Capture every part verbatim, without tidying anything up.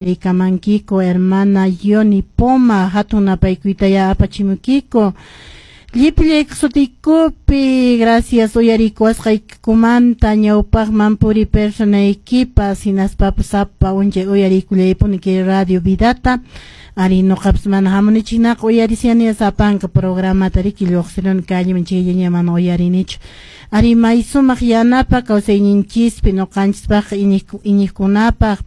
Rikamankiko hermana Yoni Poma hatun napaykuytaya apachimukiko llipillayku sutiykupi gracias uyarikuwasqaykumanta ñawpaqman puri personaykipas hinaspapas sapa unchay uyarikullaypuni kay radio vidata ari nuqapas mana hamunichiknaqa uyarisiani sapanka programata riki lluqsiruni kalliman chayllaña mana uyarinichu ari may sumaq yanapa kawsayninchispi nuqanchispaq iñiqkunapaq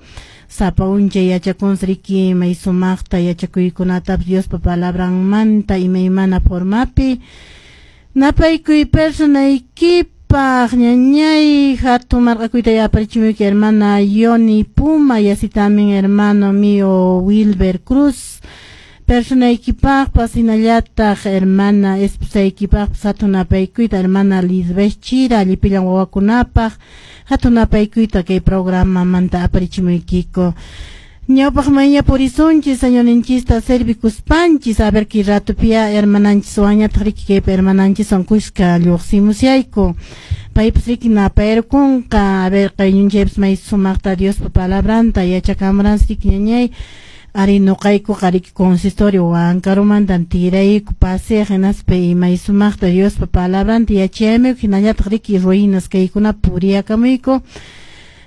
sapa unchay yachakunsi riki may sumaqta yachakuykunatapas Diospa palabranmanta imaymana formapi napaykuy personaykipaq ñañay hatun marqakuyta yaparichimuyki hermana Yoni Puma y así también hermano mío Wilber Cruz personaykipaqpas hinallataq hermana esposaykipaqpas hatun napaykuyta hermana Lisbeth Chira llipillan wawakunapaq hatun napaykuyta kay programamanta aparichimuykiko ñawpaqmanña purisunchis señorninchista servikuspanchis a ver kay ratopia hermananchiswanñataq riki kaypi hermananchiswan kuska lluqsimusyayku paypas riki napayrukunqa a ver qayñunchaypas may sumaqta Diospa palabranta yachakamuransi riki ñañay ari nuqaykuqa riki consistorio Huancaromantan tirayku paseaq hinaspa may sumaqta Diospa palabranta yachayamuyku hinallataq riki ruinas kaykuna puriyakamuyku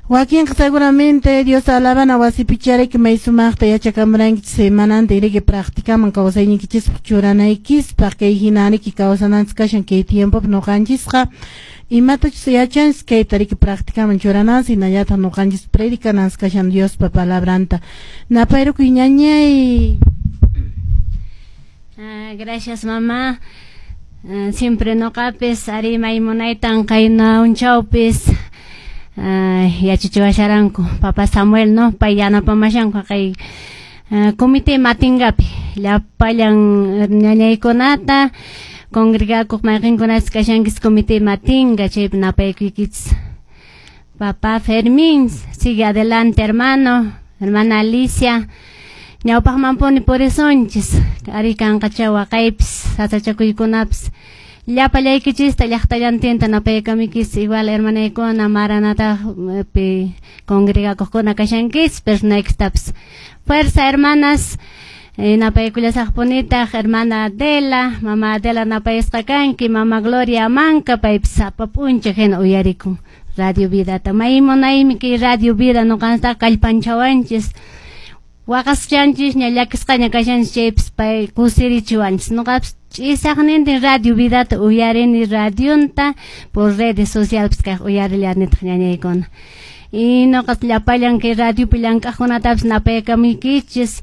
wakinqa seguramente Dios alabana wasipicha riki may sumaqta yachakamurankichis semananta riki practicaman kawsayninkichispaq churanaykispaq kay hina riki kawsananchis kashan kay tiempopi nuqanchisqa imatachus yachanchis kayta riki practicaman churananchis hinallataq nuqanchis predicananchis kashan Diospa palabranta napayrukuy ñañay. Ah, gracias mamá. Uh, siempre nuqapis ari maymunaytan qayna unchawpis uh, yachachiwasharanku papa Samuel no pay yanapamashanku kay uh, comité matingapi llapallan ñañaykunata congregakuq mayqinkunapas kashankis comité matinga chaypi napaykuykichis. Papá Fermín sigue adelante hermano, hermana Alicia ñawpaqmanpuni purisunchis ari kanqacha waqaypis sasachakuykunapis llapallaykichista llaqtallantinta napaykamikis igual hermanaykuna Maranatapi congregakuqkuna kashankis personaykistapis fuerza hermanas. eh, napaykullasaqpunitaq hermana Adela, mama Adela napayasqa kanki, mama Gloria Manka paypis sapa p'unchay hina uyarikun Radio Vidata may munaymi kay Radio Vida nuqantaqa kallpanchawanchis waqaschanchis ña llakisqaña kashanchis chaypis pay kusirichiwanchis nuqapis ch'isaqnintin Radio Vidata uyarini radionta por redes sociales kaq uyarillanitaq ñañaykuna y nuqas llapallan kay radiopi llank'aqkunatapis napaykamuykichis.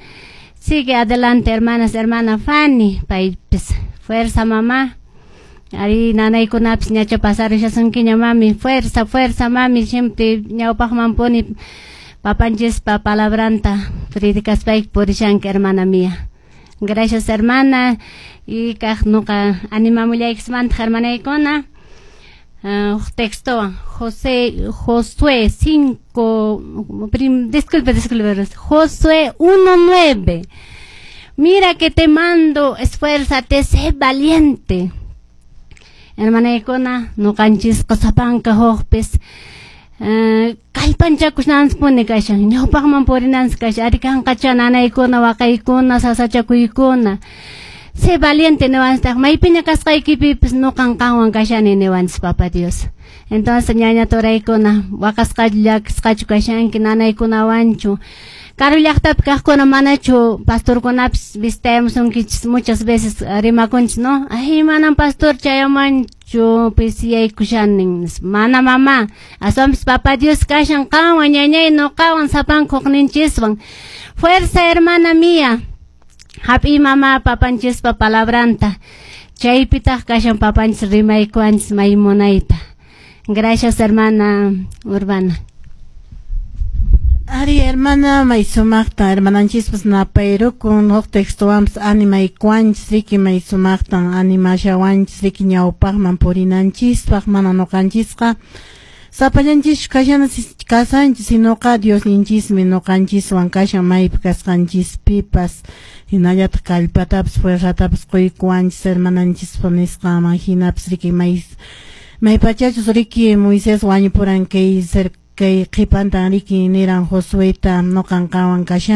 Sigue adelante hermanas, hermana Fanny paypis fuerza mamá ari nanaykunapis ñacha pasarishasunkiña mami fuerza fuerza mami siempre ñawpaqmanpuni papanchispa palabranta predicaspayki purishanki hermana mía. Gracias hermana y kaq nuqa animamullaykichmantaq hermanaykuna uh, texto José Josué cinco prim, disculpe disculpe Josué uno nueve. Mira que te mando, esfuérzate, sé valiente. Hermanaykuna nuqanchisqa sapanka huqpis uh, kallpanchakusnanchispuni kashan ñawpaqman purinanchis kashan ari kanqacha nanaykuna waqaykuna sasachakuykuna sé valiente niwanchistaq maypiña kasqaykipipis nuqan qanwan kashani niwanchis papa Dios. Entonces ñaña turaykuna waqasqachu llakisqachu kashanki nanaykunawanchu karu llaqtapi kaqkuna manachu pastorkunapis visitayamusunkichis muchas veces rimakunchis no ay manan pastor chayamanchu pisiyaykushanin mana mamá aswanpis papa Dios kashan qanwan ñañay nuqawan sapanka hukninchiswan fuerza hermana mía hap'iy mama papanchispa palabranta chaypitaq kashan papanchis rimaykuwanchis may munayta. Gracias hermana Urbana. Ari hermana may sumaqta hermananchispas napayrukun huk textowanpas animaykuwanchis riki may sumaqtan animashawanchis riki ñawpaqman purinanchispaq mana nuqanchisqa sapallanchischu kashana kasanchis sinoqa Diosninchismi nuqanchiswan kashan maypi kasqanchispipas hinallataq kallpatapas fuerzatapas quykuwanchis hermananchispa nisqanman hinapas riki may maypachachus riki Moisés wañupuran kay Kay qhipantan riki niran Josueta, noqan qanwan kashani.